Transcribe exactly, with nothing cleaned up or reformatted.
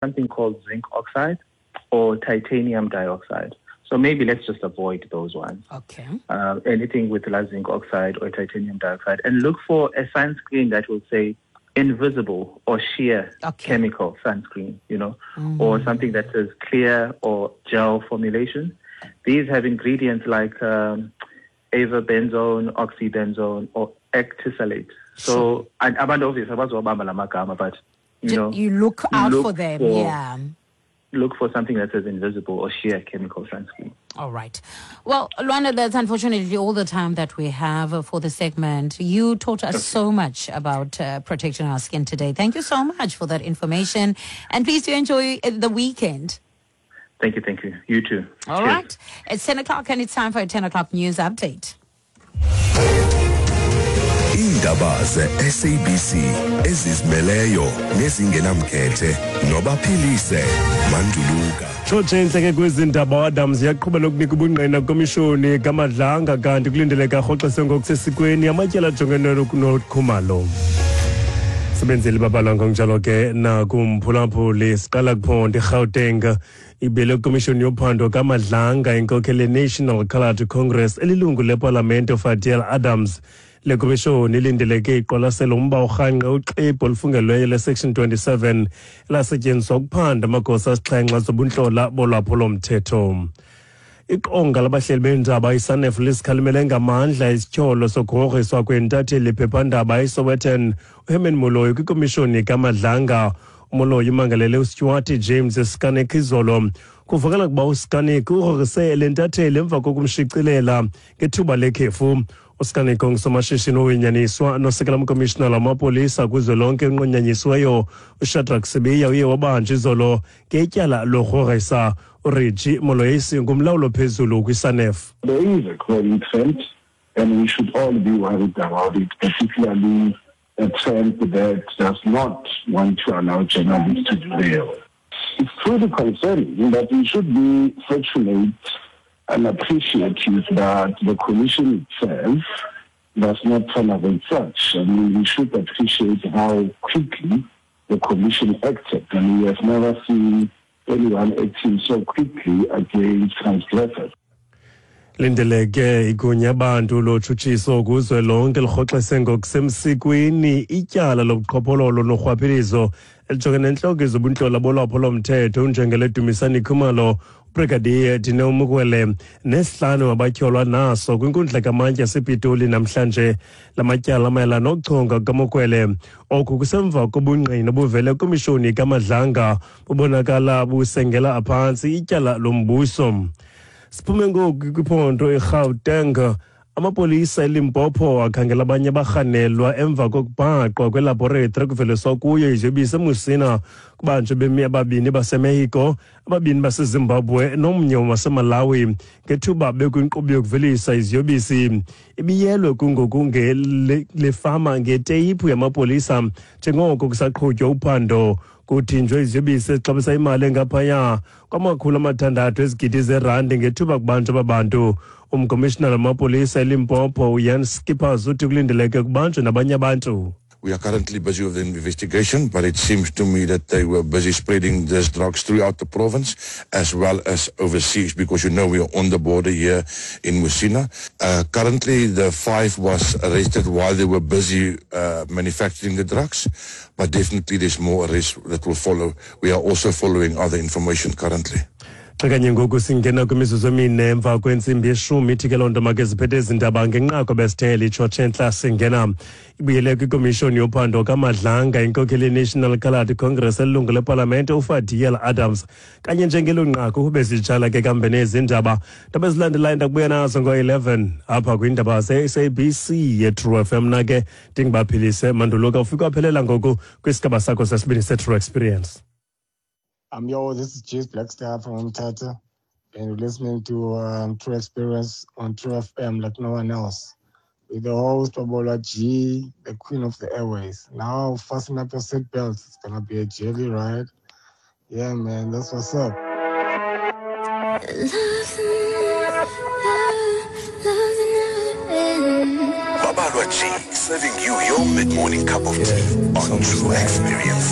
something called zinc oxide or titanium dioxide. So maybe let's just avoid those ones. Okay. Uh, anything with zinc oxide or titanium dioxide. And look for a sunscreen that will say invisible or sheer okay. chemical sunscreen, you know, mm. or something that says clear or gel formulation. These have ingredients like um, avobenzone, oxybenzone, or octisalate. So, and abantu obviously, but you know, you look out look for them, for, yeah. Look for something that says invisible or sheer chemical sunscreen. All right. Well, Lwando, that's unfortunately all the time that we have for the segment. You taught us okay. so much about uh, protecting our skin today. Thank you so much for that information. And please do enjoy the weekend. Thank you, thank you. You too. All Cheers. right. It's ten o'clock and it's time for a ten o'clock news update. Iindaba ze-S A B C ezizimeleyo nezingenamkhethe nobaphilise Manduluka. Tshotshe intleke kwezindaba Adams yaqhuba nokunika ubungqina kwimishoni kaMadlanga kanti kulindeleke arhoxiswe ngokusesikweni amatyala ajongene noKhumalo. Sebenzeli babalwa ngokunjalo ke nakumphulaphuli siqala kuphondo iGauteng ibele komishoni yophando kaMadlanga inkokheli National Coloured Congress elilungu lepalamente uFadiel Adams. Le komishoni ilindeleke iqwalasela umba urhanqe uxwebhu olufungelweyo le-Section twenty-seven elasetyenziswa ukuphanda amagosa asixhenxe zobuntlola bolwaphulomthetho. Iqonga labahleli beendaba iSANEF lisikhalimele ngamandla isityholo sokugrogriswa kwentatheli phephandaba iSowetan uHerman Moloi kwikomishoni kaMadlanga. UMoloi umangalele uStuart James Scanek izolo. Kuvakala ukuba uScanek ugrogrise le ntatheli emva kokumshicilela ngethuba lekhefu. uScanek ongusomashishini owinyaniswa nosekela mkomishinala wamapolisa kuzwelonke onqunyanyisiweyo uShadrack Sibiya uye wabanjwa izolo ngetyala logrogrisa. uReggie Moloisi ngumlawuli ophezulu kwiSANEF. There is a growing trend and we should all be worried about it, particularly a trend that does not want to allow journalists to do their work. It's truly concerning that we should be fortunate and appreciative that the Commission itself does not tolerate such. I mean, we should appreciate how quickly the Commission acted, and we have never seen anyone acting so quickly against transgressors. Lindeleke igunya abantu lotshutshiso kuzwelonke lirhoxise ngokusemsikweni ityala lobuqhophololo norhwaphilizo elijongene nentloko yezobuntlola bolwaphulomthetho unjengele Dumisani Khumalo, uBrigadier Dineo Mokwele nesihlanu abatyholwa naso kwinkundla kamantyi yasePitoli namhlanje. La matyala mayelana nokuchonga kukaMokwele. Oku kusemva kobungqina obuvele kwimishoni kaMadlanga bubonakala busengela phantsi ityala lombuso. Siphume ngoku kwiphondo eGauteng. Amapolisa eLimpopo akhangela abanye abarhanelwa emva kokubhaqwa kwelaboratory ekuveliswa kuyo iziyobisi eMusina. Kubanjwe bemi ababini baseMexico, ababini baseZimbabwe nomnye waseMalawi ngethuba bekwinkqubo yokuvelisa iziyobisi. Ibiyelwe kungoku le fama ngeteyiphu yamapolisa njengoko kusaqhutywa uphando. Kuthinjwe iziyobisi ezixabisa imali engaphaya kwamakhulu amathandathu ezigidi zerandi ngethuba kubanjwa babantu. Umkomishinala wamapolisa eLimpopo uJan Skippers uthi kulindeleke kubanjwe nabanye abantu. We are currently busy with the investigation, but it seems to me that they were busy spreading these drugs throughout the province as well as overseas, because you know we are on the border here in Musina. Uh, currently, the five was arrested while they were busy uh, manufacturing the drugs, but definitely there's more arrests that will follow. We are also following other information currently. Xa kanye ngoku singena kwimizuzu emine emva kwentsimbi yeshumi, ithi ke loo nto make ziphethe ezi ndaba ngenqaku besithele itshotshe entla singena. Ibuyele kwikomishoni yophando kaMadlanga inkokheli yeNational Coloured Congress elilungu lepalamente uFadiel Adams. Kanye njengelo nqaku bezitshala ke kambe nezi ndaba. Ndaba ezilandelayo ndakubuya nazo ngo-eleven apha kwiindaba ze-S A B C ye-True F M. Mna ke ndingubaphilise Manduluka, ufike waphelela ngoku kwisigaba sakho sesibini se-True Experience. Um, yo, this is Jace Blackstar from Mthatha, and you're listening to um, True Experience on True F M like no one else. With the host, Babalwa G, the queen of the airways. Now, fasten up your seatbelts. It's gonna be a jelly ride. Yeah, man, that's what's up. Babalwa G, serving you your mid-morning cup of tea on True Experience.